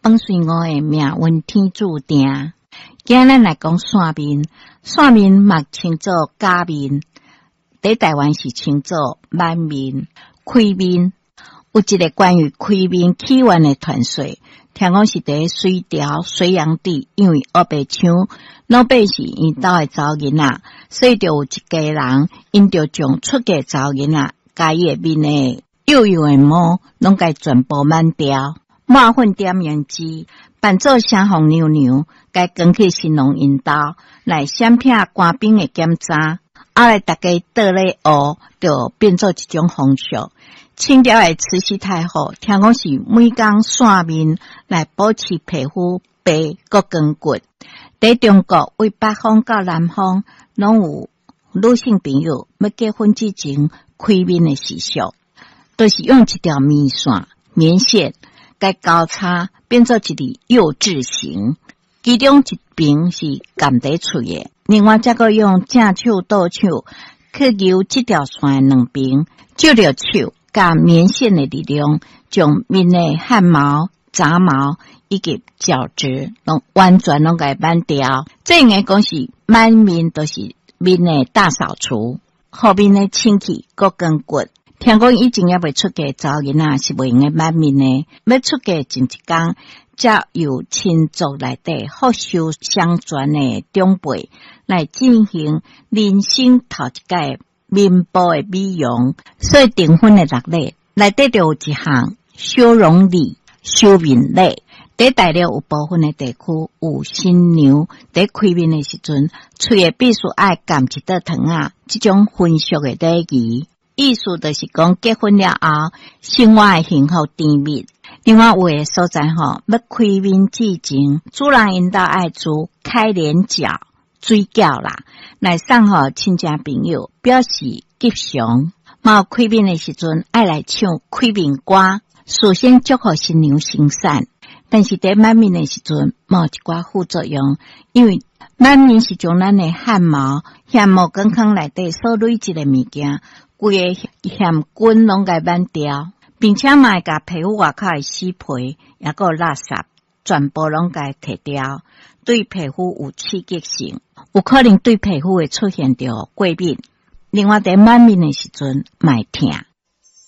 放隨我的命運天注定。今咱來講散面，散面嘛稱做假面，佇台灣是稱做挽面、開面。有一个關於開面起源的傳說，聽講是佇隋朝隋煬帝，因為烏白搶老百姓𪜶兜的查某囡仔，所以就有一家人，𪜶就將出嫁查某囡仔，共伊的面的幼幼的毛，攏共全部挽掉，抹粉點胭脂，扮做雙鳳娘娘，共扛去新郎𪜶兜來閃避官兵的檢查。後來大家倒咧學，就變做一種風俗。清朝的慈禧太后，聽講是每工散面來保持皮膚白閣光滑。佇中國，對北方到南方，攏有女性朋友欲結婚之前開面的習俗，就是用一條棉線、棉線共交叉，變做一个幼字形，其中一邊是含佇喙的，另外再閣用正手倒手去勾這條線的兩邊，藉著手佮棉線的力量，將面的汗毛、雜毛以及角質，攏完全攏共挽掉。這應該講是挽面，就是面的大掃除，予面的清氣閣光滑。聽講以前猶未出嫁查某囡仔是袂用得挽面的，欲出嫁前一工，才由親族內底福壽雙全的長輩來進行人生頭一擺面部的美容。所以訂婚的六禮內底就有一項修容禮、修面禮。佇大陸有部分的地區，有新娘佇開面的時陣，喙的必須愛含一塊糖仔，這種婚俗的禮儀。意思就是講結婚了後，生活會幸福甜蜜。另外有的所在吼，欲開面之前，主人𪜶兜愛煮開臉餃、水餃啦，來送予親戚朋友，表示吉祥。嘛有開面的時陣，愛來唱開面歌，事先祝福新娘生產。但是佇挽面的時陣，嘛有一寡副作用，因為挽面是將咱的汗毛、遐毛管孔內底所累積的物件，規个贗菌攏共挽掉，並且嘛會共皮膚外口的死皮，抑閣有垃圾，全部攏共剔掉，對皮膚有刺激性，有可能對皮膚會出現著過敏。另外，佇挽面的時陣，嘛會疼。